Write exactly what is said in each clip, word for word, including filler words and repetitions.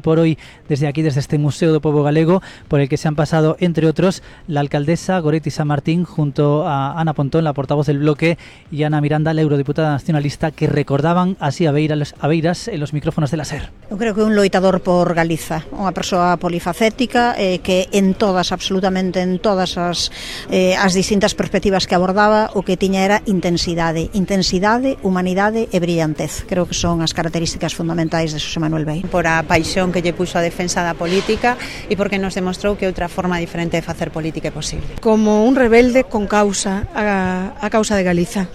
por hoy desde aquí, desde este Museo do Pobo Galego, por el que se han pasado, entre otros, la alcaldesa Goretti San Martín junto a Ana Pontón, la portavoz del bloque, y Ana Miranda, la eurodiputada nacionalista, que recordaban así a Beiras, a Beiras en los micrófonos de la SER. Eu creo que un loitador por Galiza, unha persoa polifacética eh, que en todas, absolutamente en todas as, eh, as distintas perspectivas que abordaba, o que tiña era intensidade, intensidade, humanidade e brillantez. Creo que son as características fundamentais de Xosé Manuel Beiras. Por a paixón que lle puxo a defensa da política e porque nos demostrou que outra forma diferente de facer política é posible. Como un rebelde con causa, a, a causa de Galiza.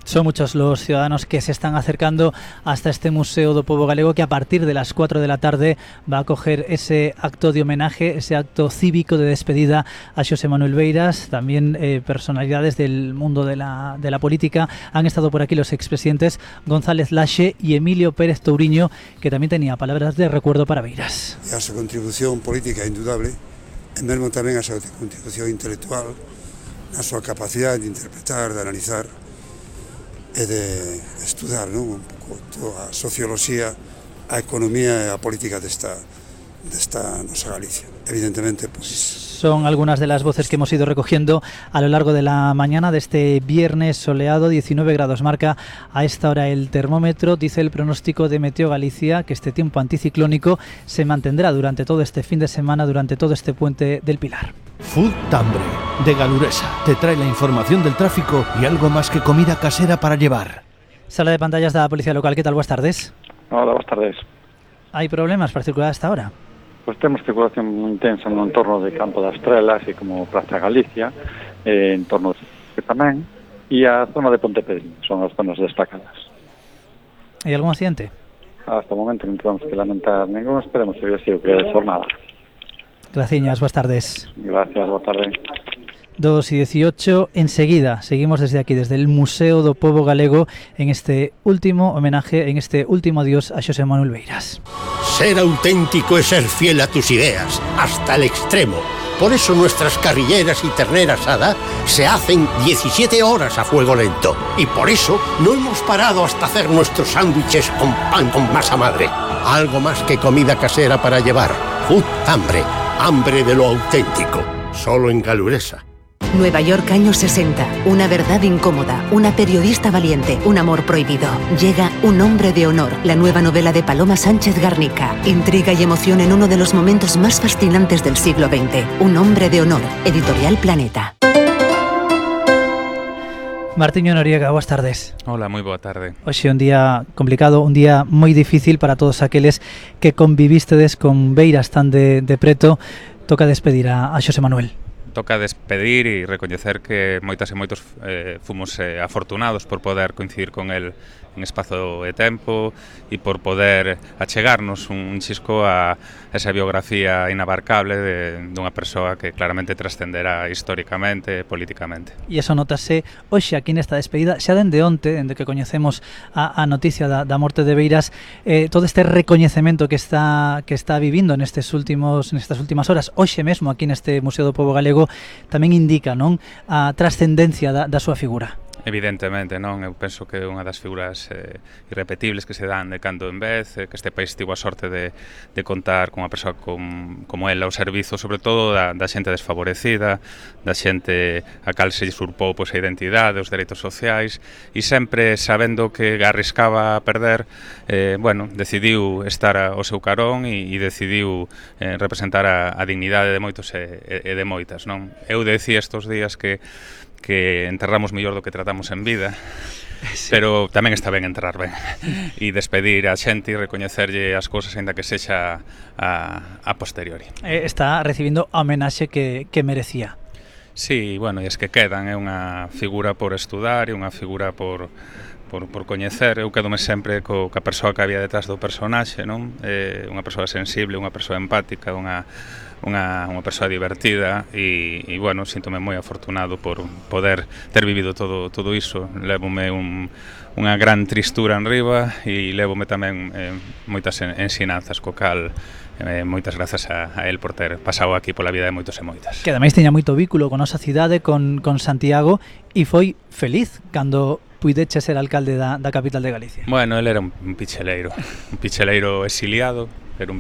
Son muchos los ciudadanos que se están acercando hasta este Museo do Pobo Galego, que a partir de las cuatro de la tarde va a acoger ese acto de homenaje, ese acto cívico de despedida a Xosé Manuel Beiras. También eh, personalidades del mundo de la, de la política. Han estado por aquí los expresidentes González Laxe y Emilio Pérez Touriño, que también tenía palabras de recuerdo para Beiras. A súa contribución política é indudable, e mesmo tamén a súa contribución intelectual, a súa capacidade de interpretar, de analizar e de estudar, non, un pouco toda a socioloxía, a economía e a política desta, desta nosa Galicia. Evidentemente, pues... Son algunas de las voces que hemos ido recogiendo a lo largo de la mañana de este viernes soleado. diecinueve grados marca a esta hora el termómetro. Dice el pronóstico de Meteo Galicia que este tiempo anticiclónico se mantendrá durante todo este fin de semana, durante todo este puente del Pilar. Food Tambre, de Galuresa, te trae la información del tráfico y algo más que comida casera para llevar. Sala de pantallas de la Policía Local, ¿qué tal? Buenas tardes. Hola, buenas tardes. ¿Hay problemas para circular hasta ahora? Pues temos circulación moi intensa no entorno de Campo das Estrelas e como Praza Galicia, eh, en torno de tamén, e a zona de Pontepedrín, son as zonas destacadas. ¿Hay algún accidente? Hasta o momento non temos que lamentar ningún, esperemos que así o que é jornada. Gracias, buenas tardes. Gracias, boa tarde. dos y dieciocho, enseguida seguimos desde aquí, desde el Museo do Pobo Galego, en este último homenaje, en este último adiós a Xosé Manuel Beiras. Ser auténtico es ser fiel a tus ideas, hasta el extremo. Por eso nuestras carrilleras y ternera asada se hacen diecisiete horas a fuego lento. Y por eso no hemos parado hasta hacer nuestros sándwiches con pan con masa madre. Algo más que comida casera para llevar. Food Hambre, hambre de lo auténtico. Solo en Galuresa. Nueva York, años sesenta. Una verdad incómoda, una periodista valiente, un amor prohibido. Llega Un hombre de honor, la nueva novela de Paloma Sánchez Garnica. Intriga y emoción en uno de los momentos más fascinantes del siglo veinte. Un hombre de honor, Editorial Planeta. Martiño Noriega, boas tardes. Hola, moi boa tarde. Hoxe un día complicado, un día moi difícil para todos aqueles que convivístedes con Beiras tan de, de preto. Toca despedir a, a Xosé Manuel. Toca despedir e recoñecer que moitas e moitos eh, fomos eh, afortunados por poder coincidir con el en espazo de tempo e por poder achegarnos un chisco a esa biografía inabarcable de, dunha persoa que claramente trascenderá históricamente e políticamente. E iso notase hoxe aquí nesta despedida, xa dende onte, dende que coñecemos a, a noticia da, da morte de Beiras, eh, todo este recoñecemento que está que está vivindo nestes últimos nestas últimas horas, hoxe mesmo aquí neste Museo do Pobo Galego, tamén indica, non, a trascendencia da, da súa figura. Evidentemente, non? Eu penso que é unha das figuras eh, irrepetibles que se dan de cando en vez, eh, que este país tivo a sorte de, de contar con unha persoa com, como ela ao servizo, sobre todo da, da xente desfavorecida, da xente a cal se usurpou pois, a identidade, os dereitos sociais, e sempre sabendo que arriscaba a perder, eh, bueno, decidiu estar ao seu carón e, e decidiu eh, representar a, a dignidade de moitos e, e de moitas, non? Eu decía estos días que que enterramos mellor do que tratamos en vida, sí. Pero tamén está ben enterrar ben e despedir a xente e recoñecerlle as cousas aínda que sexa a, a posteriori. Está recibindo a homenaxe que, que merecía. Sí, bueno, e es que quedan, é unha figura por estudar, é unha figura por por, por coñecer. Eu quedome sempre co, ca persoa que había detrás do personaxe, non? É unha persoa sensible, unha persoa empática, unha Unha, unha persoa divertida e, e bueno, síntome moi afortunado por poder ter vivido todo, todo iso. Lévome un, unha gran tristura en riba e lévome tamén eh, moitas ensinanzas, co cal eh, moitas grazas a, a él por ter pasado aquí pola vida de moitos e moitas. Que ademais teña moito vínculo con nosa cidade, con, con Santiago, e foi feliz cando puideche ser alcalde da, da capital de Galicia. Bueno, él era un, un picheleiro, un picheleiro exiliado, era un